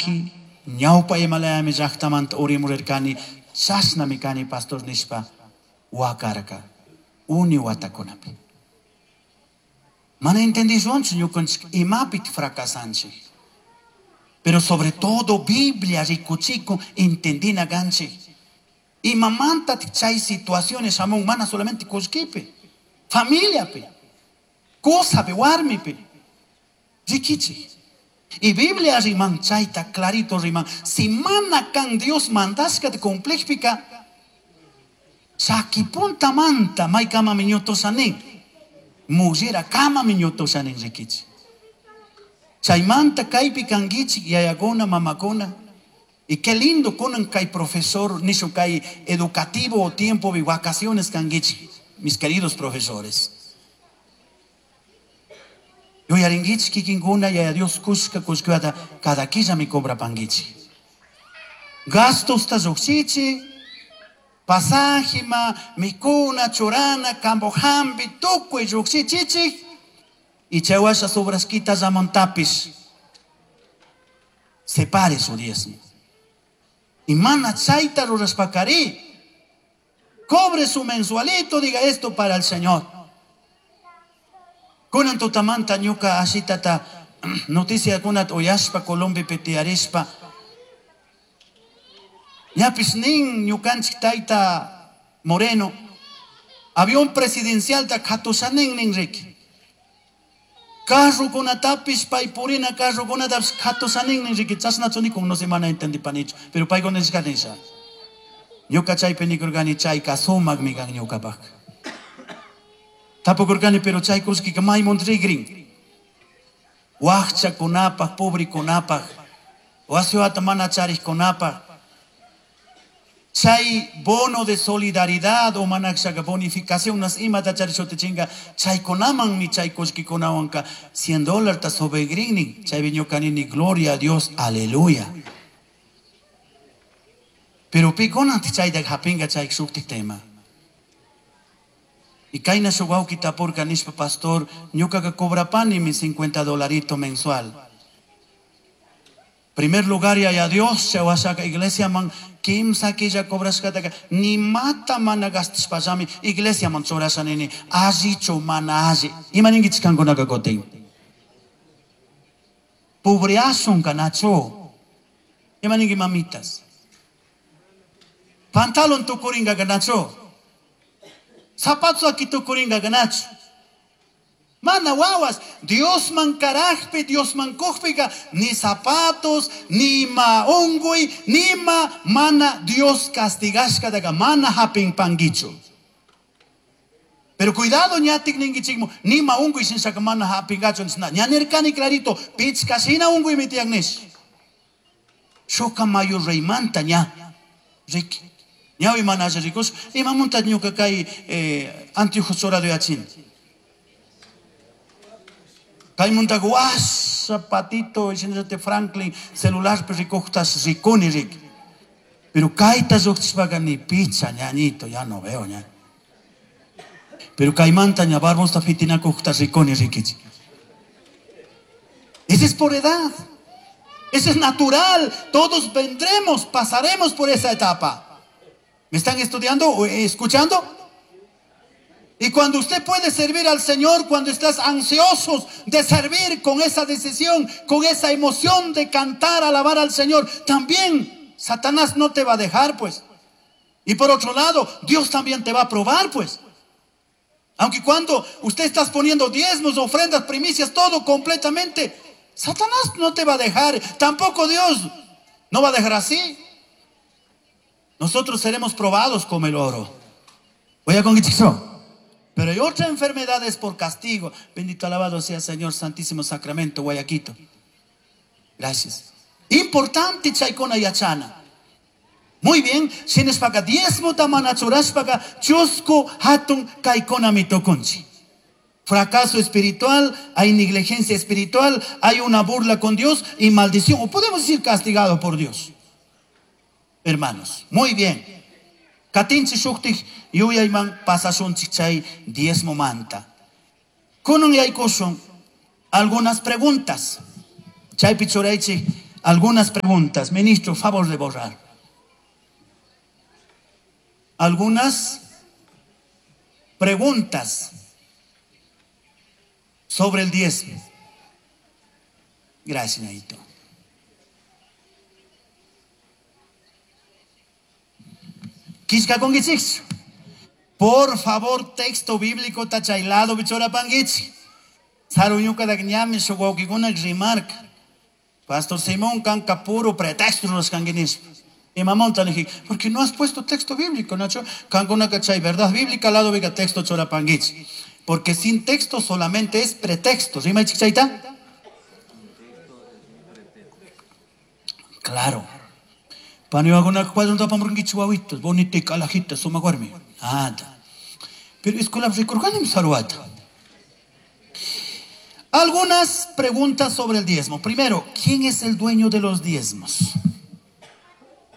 Llaki ñawpa imalayami llaktamanta urimurirkani, chashnami kani pastor nishpa wakarka uni watakunapi. Mana entendishunchu ñukanchik imapi fracasanchik. Pero sobre todo Biblia rikuchikun entendina kanchik. Imamanta chay situaciones shamun mana solamente kullkipi, familiapi, kusapi, warmipi. Rikichik. Y Biblia riman chayta clarito riman. Si mana kan Dios mandashkata cumplishpika, chaki puntamanta maykamami ñutusha nin. Mullera kamami ñutusha nin rikichik. Chaymanta kaypi kankichik yayakuna, mamakuna. Y qué lindo kunan kay profesor, nishu kay educativo tiempo de vacaciones kankichik, mis queridos profesores. Yuyarinkichik kikinkuna yaya Dios kushka kushkata cada killami cobrapankichik. Gastosta llukshichik, pasajima, mikuna, churana, campo hampi, tukuy llukshichichik. Y chaywasha sobrasquita llamantapish. Separe su diezmo. Y mana chayta rurashpakari. Cobre su mensualito, diga esto para el Señor. Kunan tutamanta ñuka ashitata noticia kunat uyashpa Colombiapi tiyarishpa. Ñapish nin ñukanchik tayta Moreno, avión presidencial ta katushanin nin riki. Carrokunatapish pay purina carrokunatapish katushanin nin riki. Chashnachu nikun no sé mana entendipanichu, pero paykuna nishka nisha. Ñuka chaypi nikurkani chayka sumakmi kan ñukapaq. Tapukurkani pero chay kullkika maymun rigrin. Wakchakunapaq, pobrikunapaq, wasiwata mana charikkunapaq. Chay bono de solidaridad o manakshaka bonificación nas imata charishutichinga chaykunamanmi chay kullkikunawanka 100 dólar ta sobregrinnin chaypi ñuka nini gloria a Dios, aleluya. Pero pikuna chayta hapinga chay shuktik tema. Y kayna shuk wawki tapurka nishpa pastor ñukaka cobrapani mi 50 dolarito mensual. Primer lugar yaya Dios chawashaka iglesia man kimsa killa cobrashkataka ni mata mana gastashpallami iglesia man churasha nini allichu mana alli. Ima ninkichik kankunaka kutin? Pobreasun kanachu. Ima ninki mamitas? Pantalon tukuringa kanachu. Zapato aki tukuringa kanachu. Mana wawas, Dios man karajpi, Dios man kujpika, ni zapatos, ni ma ungui, ni ma mana Dios castigashka daga mana hapin pangichu. Pero cuidado ñatik ningichikmo, ni ma ungui sin saka mana hapingachu nisna. Ñanirkani clarito, pichkashina ungui mitiak nish. Shoka mayo reymanta ña. Riki. Ñawi mana haya rikus, imamunta ñuka kay anteojos chorado yachin. Kaymunta guasa patito, diciéndote Franklin, celular ricojtas riconi ric. Pero kaita lluqchishpaqa ni picha ñañito, ya no veo ña. Pero kaymanta ña barbosta fitinakujta riconi rikichi. Ese es por edad. Ese es natural. Todos vendremos, pasaremos por esa etapa. ¿Me están estudiando o escuchando? Y cuando usted puede servir al Señor, cuando estás ansiosos de servir con esa decisión, con esa emoción de cantar, alabar al Señor, también Satanás no te va a dejar, pues. Y por otro lado, Dios también te va a probar, pues. Aunque cuando usted estás poniendo diezmos, ofrendas, primicias, todo completamente, Satanás no te va a dejar. Tampoco Dios no va a dejar así. Nosotros seremos probados como el oro. Voy a conquistar. Pero hay otra enfermedad es por castigo. Bendito alabado sea el Señor Santísimo Sacramento, Guayaquito. Gracias. Importante chaykuna yachana. Muy bien, shinashpaka diezmota mana churashpaka chusku hatun kaykuna mitukunchik. Fracaso espiritual, hay negligencia espiritual, hay una burla con Dios y maldición, o podemos decir castigado por Dios. Hermanos, muy bien. Katinchi shuktik yuyayman pasashunchik chay diezmo manta. Kunan yaykushun algunas preguntas. Chaypi churaychik Algunas preguntas. Ministro, favor de borrar. Algunas preguntas sobre el diezmo. Gracias, Naito. Por favor, texto bíblico tachailado bichora pangichi. Saruñuka dagñami shuwawkikuna rimarka. Pastor Simón kanka puro pretexto los kanguinismo. Y mamón te dije, porque no has puesto texto bíblico, Nacho. Kankuna cachay, verdad bíblica, al lado venga texto chora panguichi. Porque sin texto solamente es pretexto. ¿Sí, chichaita? Claro. Pani waguna cuadro tapamurungichi wawitos, bonita y calajita, suma guarmi. Nada. Pero escuela recurganim saruata. Algunas preguntas sobre el diezmo. Primero, ¿quién es el dueño de los diezmos?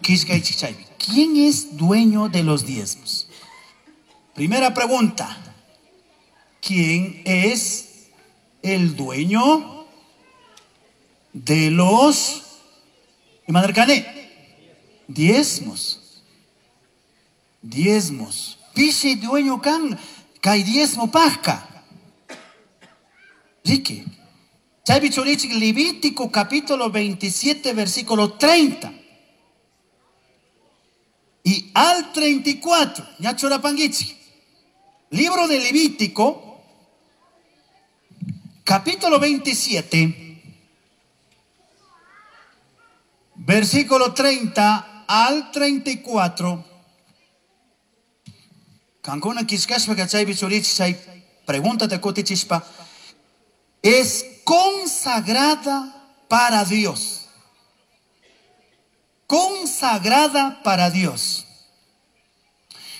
¿Quién es dueño de los diezmos? Primera pregunta. ¿Quién es el dueño de los diezmos? Diezmos. Pishi dueño kan, kai diezmo pasca. Ricky. Chaypi churichik, Levítico capítulo 27, versículo 30. Y al 34, ñachora panguichi. Libro de Levítico, capítulo 27, versículo 30 al 34. Kankuna kishkashpa kachaypi churichik, chay pregúntate kutichispa. Es consagrada para Dios. Consagrada para Dios.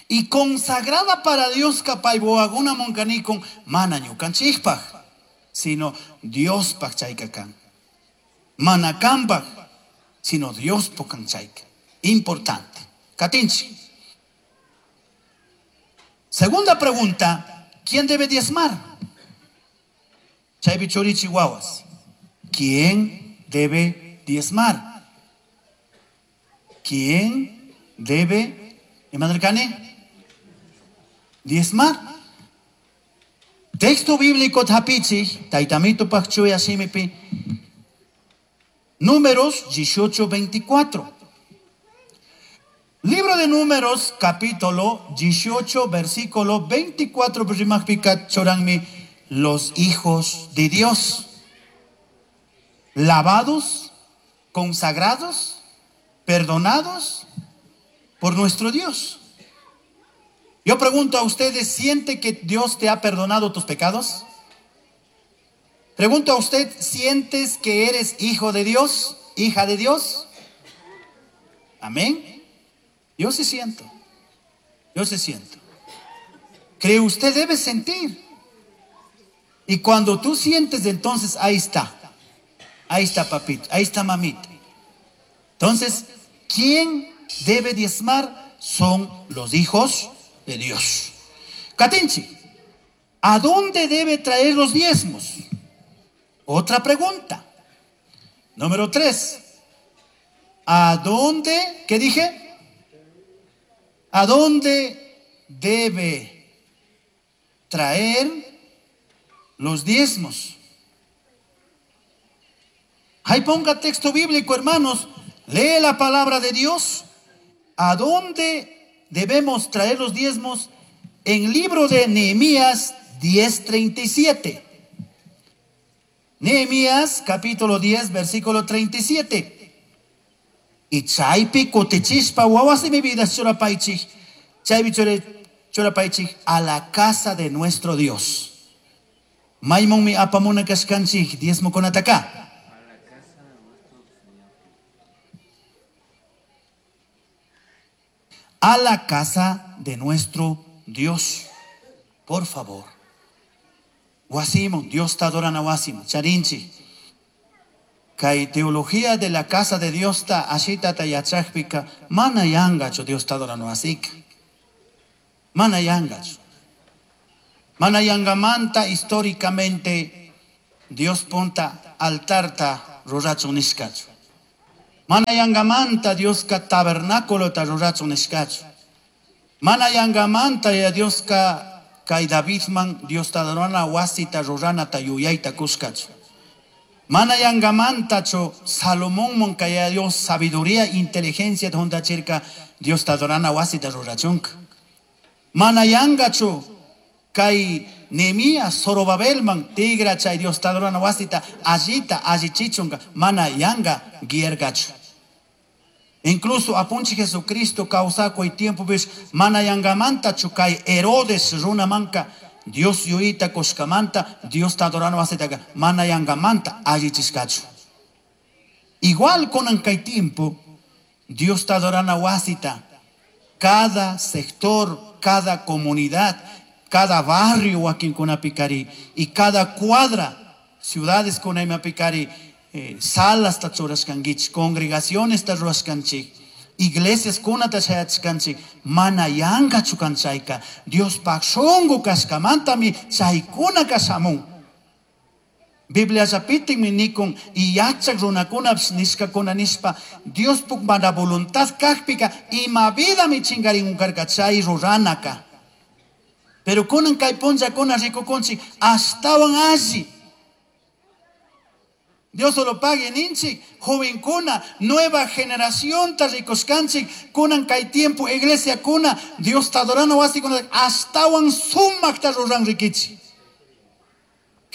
Y consagrada para Dios kapayboaguna moncanicon mana ñukanchikpaj, sino Dios paj chaykakan. Mana kanpaj, sino Dios pokan chayka. Importante. Katinchi. Segunda pregunta, ¿quién debe diezmar? Chaypi churichi wawas. ¿Quién debe diezmar? ¿Quién debe, Emanuel Cane? Diezmar. Texto bíblico tapichi, taitamito pachchuy asimipi. Números 18:24. Libro de Números, capítulo 18, versículo 24, primagpica choranmi, los hijos de Dios, lavados, consagrados, perdonados por nuestro Dios. Yo pregunto a ustedes, ¿siente que Dios te ha perdonado tus pecados? Pregunto a usted, ¿sientes que eres hijo de Dios, hija de Dios? Amén. Yo sí siento. Yo sí siento. Cree usted debe sentir. Y cuando tú sientes, entonces ahí está. Ahí está papito, ahí está mamita. Entonces, ¿quién debe diezmar? Son los hijos de Dios. Katinchi, ¿a dónde debe traer los diezmos? Otra pregunta. Número 3. ¿A dónde? ¿Qué dije? ¿A dónde debe traer los diezmos? Ahí ponga texto bíblico, hermanos. Lee la palabra de Dios. ¿A dónde debemos traer los diezmos? En libro de Nehemías 10:37. Nehemías capítulo 10, versículo 37. Y chaypi kutichishpa wawas de mi vida churapaichik, chaypi churapaichik a la casa de nuestro Dios. Maimon mi apamuna kashkanchik diezmo konataka. A la casa de nuestro Dios. Por favor. Wasimo, Dios te adora na wasimo. Charinchi. Kai teología de la casa de Dios ta ashita ta yachajpika mana yangacho Dios te adora no asik. Mana yangacho. Mana yangamanta históricamente Dios ponta altarta ruracho nishkacho. Mana yangamanta Dioska tabernáculo rurachun nishkachu. Mana yangamanta ya Dioska kay Davidman Diosta adorana wasita ruranata yuyayta kushkachu. Mana yangamantachu Salomonman kay Dios sabiduría, inteligencia huntachirka Diosta adorana wasita rurachunka. Mana yangachu kay Nehemías Zorobabelman tigra chay Diosta adorana wasita allita allichichunka mana yanga guiergachu. Incluso apunchi Jesucristo kawsakuy tiempopish mana yangamantachu kay Herodes runamanka Dios yuyita kushkamanta Diosta adorana wasitaka mana yangamanta allichishkachu. Igual kunan kay tiempo Diosta adorana wasita cada sector, cada comunidad, cada barrio wakinkunapikari y cada cuadra, ciudades kunaymapikari, salas ta churashkankichik, congregaciones ta rurashkanchik, iglesias kunata shayachishkanchik, mana yankachu kan chayka, Diospaj shunku kashkamantami chaykunaka shamun. Bibliallapitikmi nikun y yachak runakunapish nishkakuna nishpa Diospuk mana voluntad kakpika ima vidami chingarin karka chay ruranaka. Pero kunan kay punllakuna rikukunchik ashtawan alli. Dios lo pague ninchik, jovencuna, nueva generación ta rikushkanchik, kunan kay tiempo iglesia kuna, Dios ta adorana wasikuna ashtawan sumakta ruran rikichik.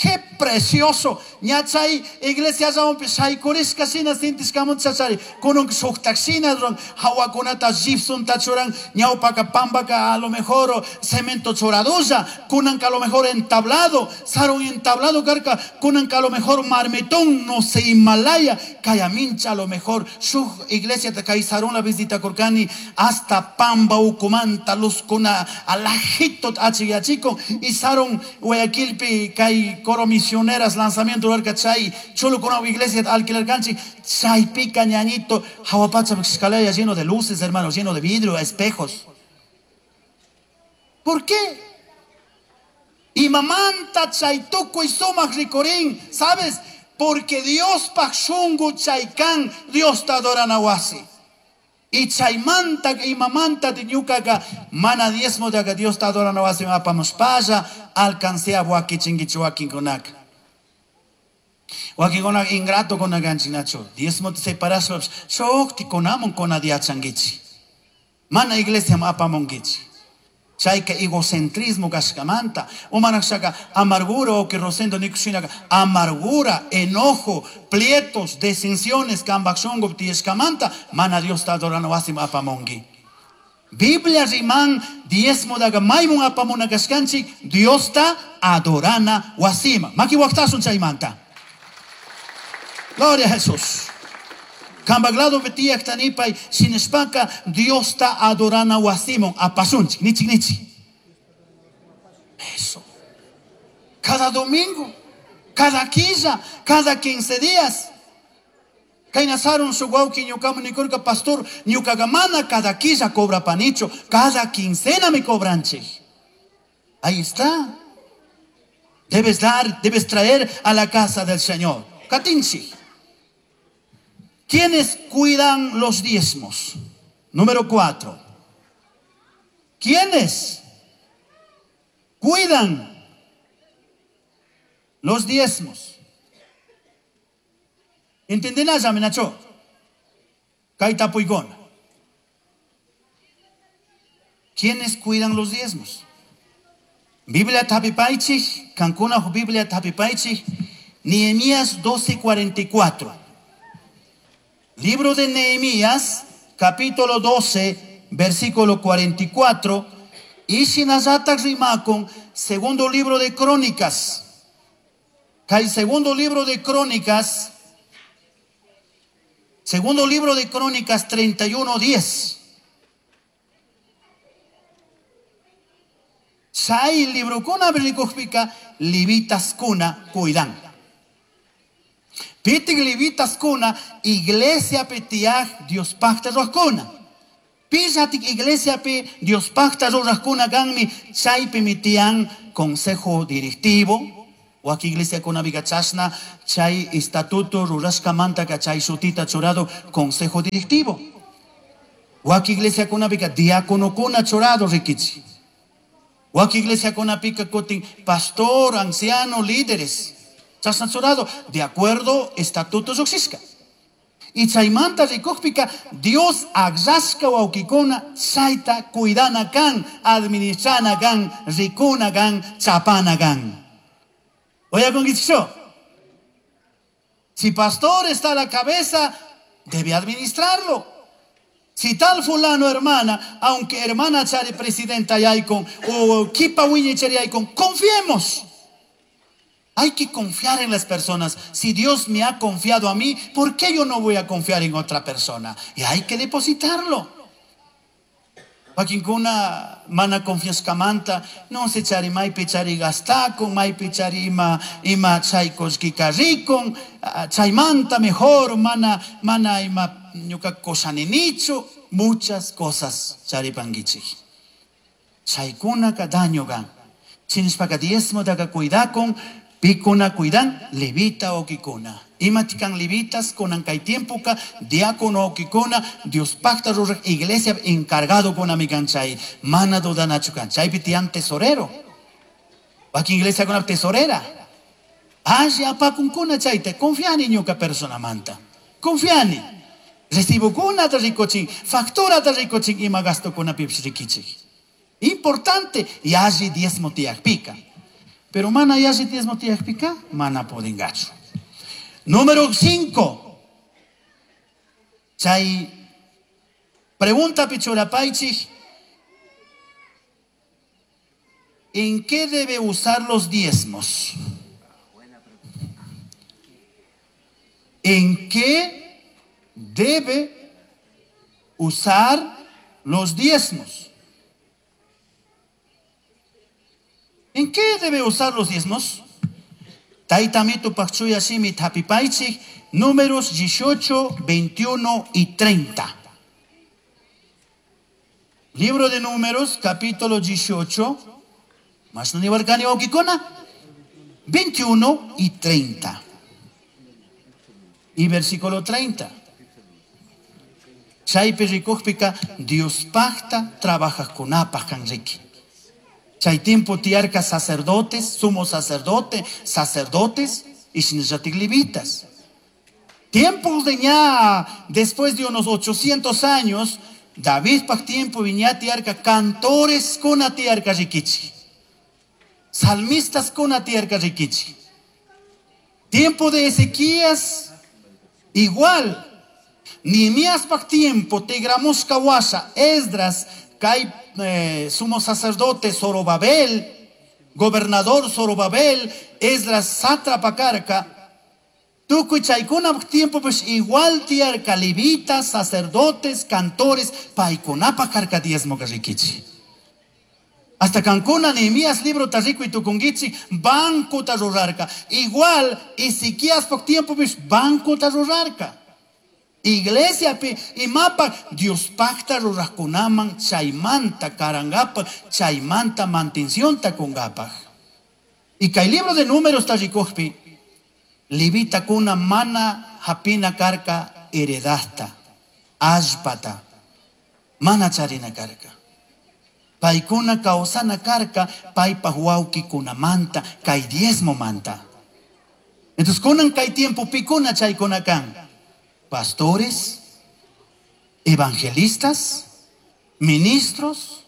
Qué precioso. Ñachay iglesia llamanpi shaykurishka shina sintishkamunta chachari. Kunan shuktak shina ruran, hawakunata gypsumta churan, ñawpaka pampaka a lo mejor cemento churadulla, kunanka a lo mejor entablado, sarun entablado karka, kunanka a lo mejor marmitón, no sé, Himalaya, kayamincha a lo mejor, shuk iglesia ta kay sarun la visita kurkani, hasta pamba ukumanta luzkuna alajito achiyachikon, y sarun Guayaquilpi kay coro misioneras lanzamiento rurarka chay chulukuna iglesia alquilar kanchik chay pica ñañito jawapacha escalera lleno de luces, hermanos, lleno de vidrio, espejos. ¿Por qué? Y mamanta chay tukuy sumaq rikurin, ¿sabes? Porque Dios paj shungu chaykan, Dios ta adorana wasi. Y chaymanta y mamanta ñukaka mana diezmo de Dios ta adorana wasi apamos paya alcancé a waquichinguichu wakinkunaka. Wakinkuna ingrato kuna ganchinacho. Diezmo te separaspa shukti kunamun kuna diachanguichi. Mana iglesia apamonguichi. Chayka egocentrismo kashkamanta, umanakshaka amargura o que rosendo nikushinaka amargura, enojo, plietos, desensiones, kambakshongo tiyeshkamanta, mana Dios ta adorano wasim apamongi. Biblia riman diezmo daga maymun apamuna kashkanchik, Dios ta adorana wasima. Maki waktasun chaymanta. Gloria a Jesús. Kambaglado betiak tanipay sinespaka Dios ta adorana wasimon apasunchik nichik nichik. Eso. Cada domingo, cada quilla, cada 15 días. Kainasaron su guauki ñukamu nikurka pastor ñukagamana cada quilla cobra panicho, cada quincena me cobranche. Ahí está. Debes dar, debes traer a la casa del Señor. Katinchi. ¿Quiénes cuidan los diezmos? Número 4. ¿Quiénes cuidan los diezmos? ¿Entienden allá, menacho? Kaita puigona. ¿Quiénes cuidan los diezmos? Biblia tapipaichik, Cancuna Biblia tapipaichik, Nehemías 12:44. Libro de Nehemías, capítulo 12, versículo 44. Y Shinazatak rimakon, segundo libro de Crónicas. Kay segundo libro de Crónicas, segundo libro de Crónicas 31:10. Chay librokuna berlikujpika levitaskuna cuidan. Pitik levitaskuna iglesia petiaj Dios pacta ruajkuna. Pillatik iglesia pe Dios pacta ruajkuna ganmi chaypi mitian consejo directivo. Wakin iglesiakunapiqa chashna chay estatuto rurashkamantaqa chay shutita churado consejo directivo. Wakin iglesiakunapiqa diaconokuna churado rikichi. Wakin iglesiakunapika kutin pastor, anciano, líderes. Chashna churado de acuerdo estatuto lluqshishka. Y chaymanta rikukpika Dios akllashka wawkikuna chayta cuidana kan, administrana kan, rikuna kan, chapana kan. Oyakunkichikchu? Si pastor está a la cabeza, debe administrarlo. Si tal fulano hermana, aunque hermana chari presidenta yaykun o kipa wiñay chari yaykun, confiemos. Hay que confiar en las personas. Si Dios me ha confiado a mí, ¿por qué yo no voy a confiar en otra persona? Y hay que depositarlo. Wakinkuna mana confiashkamanta, no se chari maypi chari gastakun, maypi chari ima chay kullkika rikun, chaymanta mejor mana ima ñuka koshaninichu, muchas cosas charipankichik. Chaykunaka daño kan. Chinishpaka diezmotaka cuidakun, pikuna cuidan, levita wawkikuna. Imatikan levitas kunan kay tiempoka, diácono wawkikuna, Dios pacta ruraj iglesia encargado kuna mikan chay, mana dudanachu kan. Chaypi tiyan tesorero. Wakin iglesia kuna tesorera. Alli apakunkuna chayta, confiani ñuka personamanta. Confiani. Recibokunata rikuchin, facturata rikuchin, ima gastokunapipish rikichik. Importante, yalli diezmo tiyakpika. Pero mana yalli diezmo tiyakpika, mana pudingachu. Número 5. Chay pregunta pichurapaychik, ¿en qué debe usar los diezmos? ¿En qué debe usar los diezmos? ¿En qué debe usar los diezmos? Taytamitu pakchuya shimi tapipaychik, números 18, 21 y 30. Libro de Números, capítulo 18, más no nibarkani wawkikuna, 21 y 30. Y versículo 30. Chaypi rikukpika, Dios pacta, trabaja con kan riki. Chay tiempo tiarca sacerdotes, sumo sacerdote, sacerdotes y shinallatik levitas. Tiempos de ña, después de unos 800 años, David pak tiempo viña tiarca cantores con tiarca rikichi. Salmistas con tiarca rikichi. Tiempo de Ezequías, igual. Nehemías pak tiempo, Tegramos kawasha, Esdras, Kai, sumo sacerdote Zorobabel, gobernador Zorobabel, Esdras sátrapa karka, tukuy chaykuna tiempo pues igual tiarka levitas, sacerdotes, cantores, paykunapa karka diezmo rikichi. Hasta kankuna Nehemías libro tarrico y tukungichi, banco tarrurarka. Igual Ezequías por tiempo pues banco tarrurarka. Iglesia pi imapa Dios pacta rurajkunaman chaymanta karangapa chaymanta mantención ta kungapaj. Y kay libro de Números tarrikujpi levita kuna mana hapina karka heredasta allpata mana charina karka. Paykuna kawsana karka paypaj wawkikunamanta kay diezmo manta. Entonces kunan kay tiempo pikuna chaykuna kan. Pastores, evangelistas, ministros,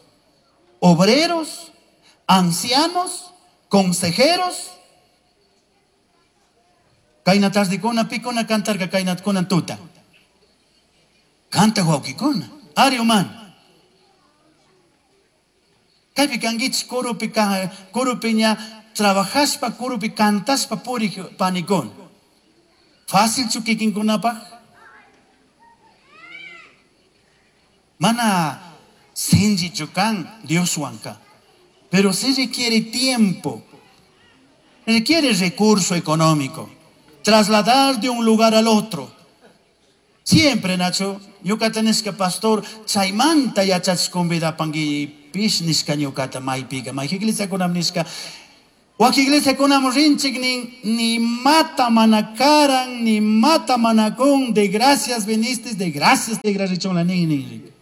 obreros, ancianos, consejeros. Kayna tardikuna pikuna kantarka kaynatkuna tuta. Kanta wawkikuna. Ari uman. Kaypi kankichik kurupi kurupi ña trabajashpa kurupi kantashpa purik panikuna. Fácil chu kikinkunapaj? Mana sinchi kan Dioswanka. Pero sí requiere tiempo, requiere recurso económico, trasladar de un lugar al otro. Siempre, Nacho, ñuka tenés que pastor, chaymanta yachachkunbida pangui pish nishka ñukata maypika, mayjiglesia kunam nishka, Wak iglesia kunamun rinchik nin, ni mata manakaran, ni mata manakun, de gracias viniste, de gracias te la nin nin.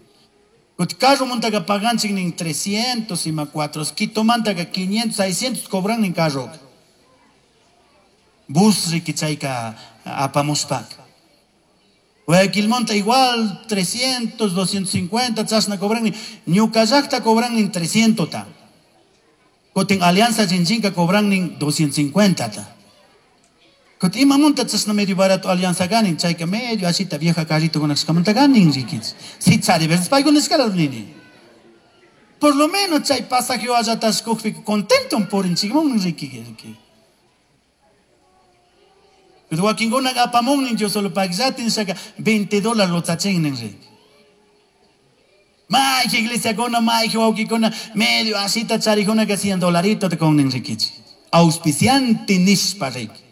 Kut carro montaga paganchik nin 300 y ma 4, quito mantaga 500, 600 cobran nin carro. Bus rikichayka apamuspak. Guayaquilmonta igual 300, 250, chasna cobran nin. Ñucallacta cobran nin 300 ta. Kutin Alianza Chinchinka cobran nin 250 ta. Kutin imamunta chasna medio barato Alianza ganin, chayka medio asita vieja carrito con axkamanta ganin rikich. Si chari veces paykuna escala nini. Por lo menos chay pasaje allá contento por inchigmon riki. Pero wakinkuna apamun nin yo solo pagsatin shaka 20 dólares lo tachin nin riki. May iglesia kona, may wawkikuna, medio asita charikuna que 100 dolaritos te con nin rikich. Auspiciante nishpa riki.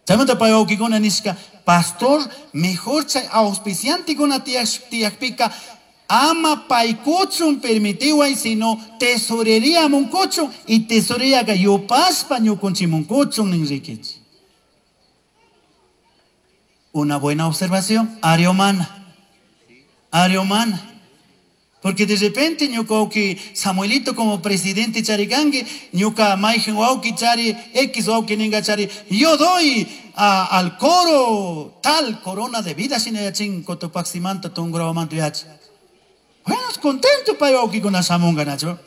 Chaymanta pay wawkikuna nishka, pastor, mejor chay auspiciante kuna tiyakpika, ama paykuchun permitiway, sino tesorería munkuchun, y tesorería ka yupaspa ñukunchimunkuchun nin rikich. Una buena observación, área humana. Área humana. Porque de repente ñuka Samuelito como presidente charikangi, ñuka maijen wauki chari, X wauki ninga chari, yo doy al coro tal corona de vida sinayachin cotopaximanta tungurawamanto yachi. Bueno, contento pay wauki con asamunga nacho.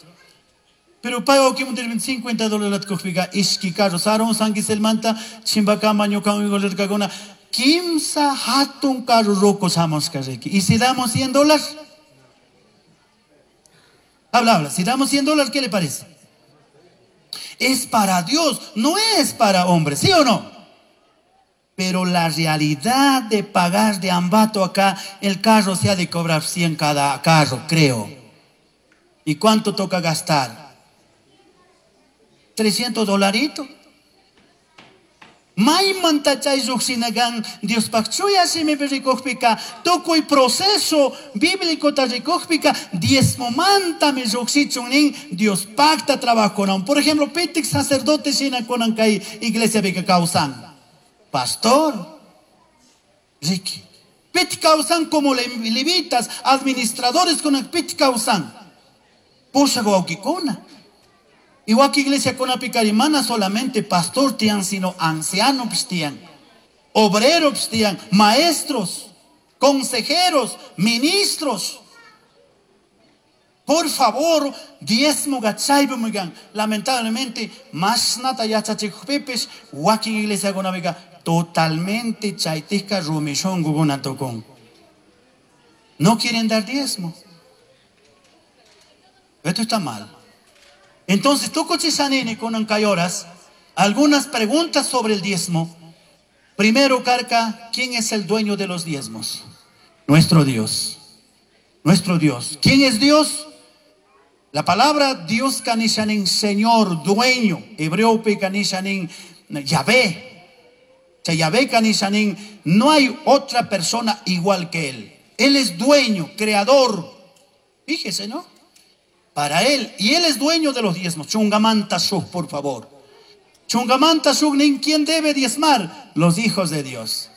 Pero pay wauki mundirmin 50 dólares kujpiga ishki carro saron sanguiselmanta chimbakama ñuka uigolerkakuna kimsa hatun carro roco samos karriki. Y si damos 100 dólares? Habla, habla. Si damos 100 dólares, ¿qué le parece? Es para Dios, no es para hombres, ¿sí o no? Pero la realidad de pagar de ambato acá, el carro se ha de cobrar 100 cada carro, creo. ¿Y cuánto toca gastar? 300 dolaritos. Maymanta chay lluqshinakan Diospaq chuya simipi rikukpika, tukuy proceso bíblico ta rikukpika, diezmomantami lluqshichun nin Diospaqta trabajonan. Por ejemplo, pitik sacerdote shina kunan kay iglesia pika kawsan. Pastor, Ricky. Pit kawsan como levitas, administradores kunan pit kawsan. Pushaq wawkikuna. Igual que iglesia con apicarimana solamente pastor tian, sino ancianos tian, obreros tian, maestros, consejeros, ministros. Por favor, diezmo gachaybumigan. Lamentablemente, más nata yachachikupipis, wakin iglesia con apica, totalmente chaitisca rumishon guguna tocón. No quieren dar diezmo. Esto está mal. Entonces, tú cochishanini con ancayoras, algunas preguntas sobre el diezmo. Primero, Carca, ¿quién es el dueño de los diezmos? Nuestro Dios. Nuestro Dios. ¿Quién es Dios? La palabra Dios kanishanin, Señor, dueño. Hebreo pe kanishanin, Yahvé. O sea, Yahvé kanishanin, no hay otra persona igual que Él. Él es dueño, creador. Fíjese, ¿no? Para él, y él es dueño de los diezmos. Chungamanta sug, por favor. Chungamanta sug, nin, ¿quién debe diezmar? Los hijos de Dios.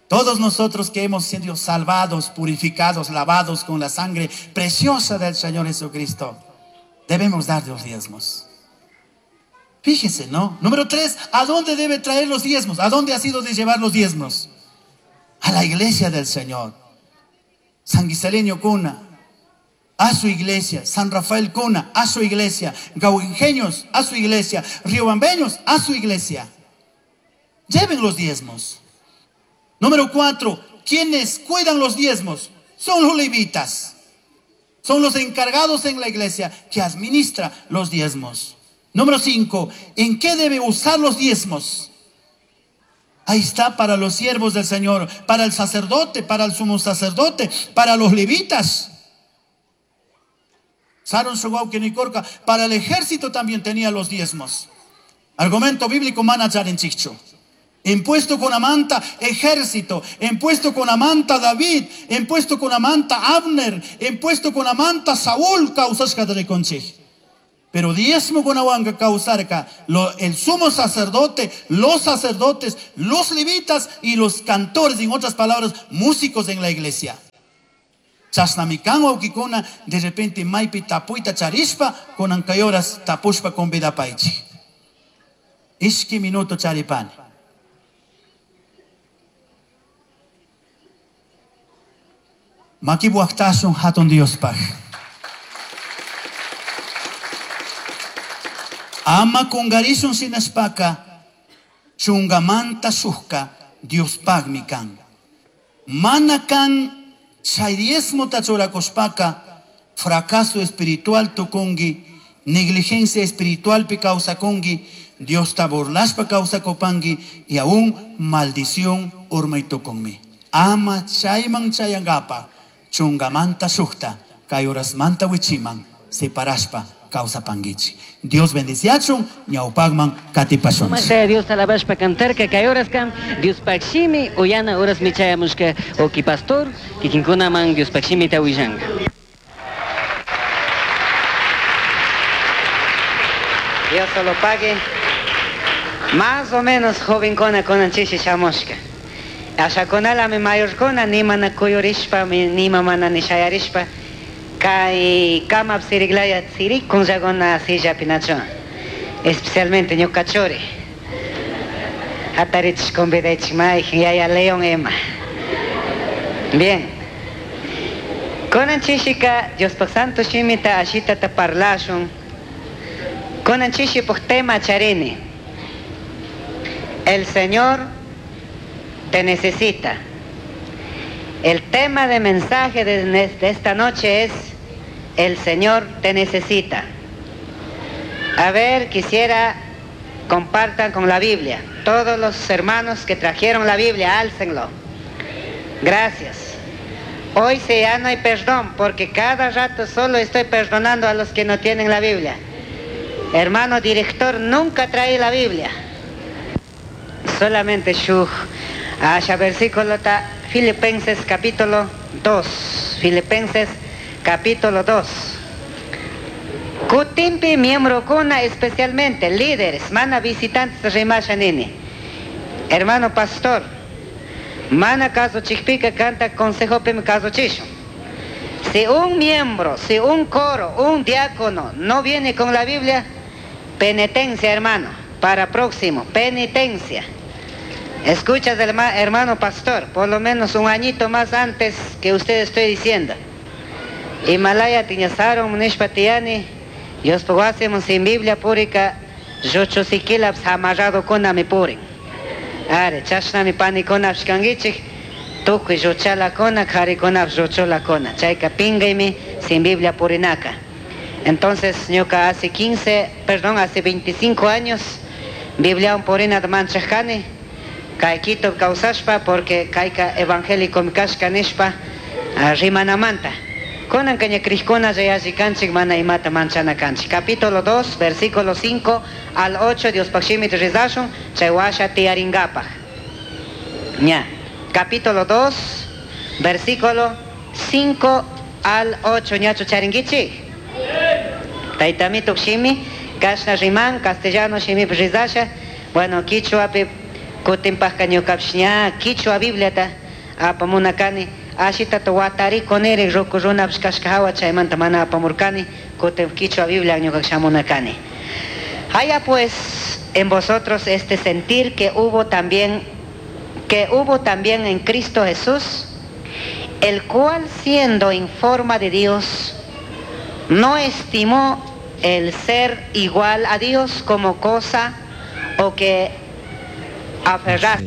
Todos nosotros que hemos sido salvados, purificados, lavados con la sangre preciosa del Señor Jesucristo, debemos dar los diezmos. Fíjese, ¿no? Número 3, ¿a dónde debe traer los diezmos? ¿A dónde ha sido de llevar los diezmos? A la iglesia del Señor. San Guiseleño Cuna, a su iglesia. San Rafael Cuna, a su iglesia. Gauingeños, a su iglesia. Riobambeños, a su iglesia. Lleven los diezmos. Número 4, ¿quiénes cuidan los diezmos? Son los levitas. Son los encargados en la iglesia que administra los diezmos. Número 5, ¿en qué debe usar los diezmos? Ahí está, para los siervos del Señor, para el sacerdote, para el sumo sacerdote, para los levitas. Saron Sugauke-Nikorka, para el ejército también tenía los diezmos. Argumento bíblico manacharinchicho. Impuesto con amanta ejército, impuesto con amanta David, impuesto con amanta Abner, impuesto con amanta Saúl, causas conchij. Pero diezmokunawanka kawsarka el sumo sacerdote, los sacerdotes, los levitas y los cantores, en otras palabras, músicos en la iglesia. Chashnami kan wawkikuna, de repente maypi tapuyta charishpa, kunan kay horas tapushpa convidapaychik. Ishki minuto charipani. Makibuaqtasun hatun Diospaq. Ama kungarishun shinashpaka chungamanta shukka Diospaqmi kan. Mana kan chay diezmota churakushpaka fracaso espiritual tukunki, negligencia espiritualpi kawsakunki, Diosta burlashpa kawsakupanki y aún maldición urmay tukunmi. Ama chayman chayankapa chungamanta shukta kay horasmanta wichiman separashpa kawsapankichik. Dios bendiciachun ñawpaqman katipashunchik. Sumaqta Dios alabashpa cantarka kay horaskam Diospaq shimi uyana horasmi chayamushka uki pastor kikinkunaman Diospaq shimita willanka. Dios lo pague. Más o menos jovencuna kunan chishi shamushka. Ashakunalami mayorkuna ni mana kuyurishpa, ni mana ni shayarishpa. Kay kamap siriglaya sirikunllakuna sillapi nachu. Especialmente ñuka churi. Hatarichish convidaychik mayjin yaya León ima. Bien. Kunan chishika Diospaq santo shimita ashitata parlashun. Kunan chishipuk tema charini. El Señor te necesita. El tema de mensaje de esta noche es El Señor te necesita. A ver, quisiera compartan con la Biblia. Todos los hermanos que trajeron la Biblia, álcenlo. Gracias. Hoy sí ya no hay perdón, porque cada rato solo estoy perdonando a los que no tienen la Biblia. Hermano director, nunca trae la Biblia. Solamente shuj. Asha versículo ta Filipenses capítulo 2. Filipenses capítulo 2. Kutimpi miembro kuna especialmente líderes, mana visitantes rimasha nini. Hermano pastor, mana caso chikpika canta consejo pim caso chisho. Si un miembro, si un coro, un diácono no viene con la Biblia, penitencia, hermano, para próximo, penitencia. Escuchas del hermano pastor, por lo menos un añito más antes que usted estoy diciendo. Himalaya tiñasaron nishpatiani, Dios hacemos sin Biblia púrica, yochosikilap amarrado con mi purin. Are, chashnami pani con shkangichik, tukuy yochala kona, kari kona, yochola kona. Chayka pingaimi sin Biblia purinaka. Entonces, ñuka hace 15, perdón, hace 25 años, Biblia un purina de manchajani, kay Quito kawsashpa, porque kayka evangélico kashka nishpa, rimanamanta. Kunan kaña krishkuna yalli kanchik mana imata manchana kanchik. Capítulo 2, versículo 5 al 8, Dios pakshimit rizashun, chay washa tiaringapaj. Ña. Capítulo 2, versículo 5 al 8, ñacho charingichik. Taytamituk shimi, kashna riman, castellano shimi rizasha, bueno, quichua pi kutinpajka ñukapish ña quichua Bibliata apamunakani, ashita watari koneri roku runapish kashka hawa chaymanta mana apamurkani, kutin quichua Biblia ñuka shamunakani. Haya pues en vosotros este sentir que hubo también, que hubo también en Cristo Jesús, el cual siendo en forma de Dios, no estimó el ser igual a Dios como cosa o que aferrar.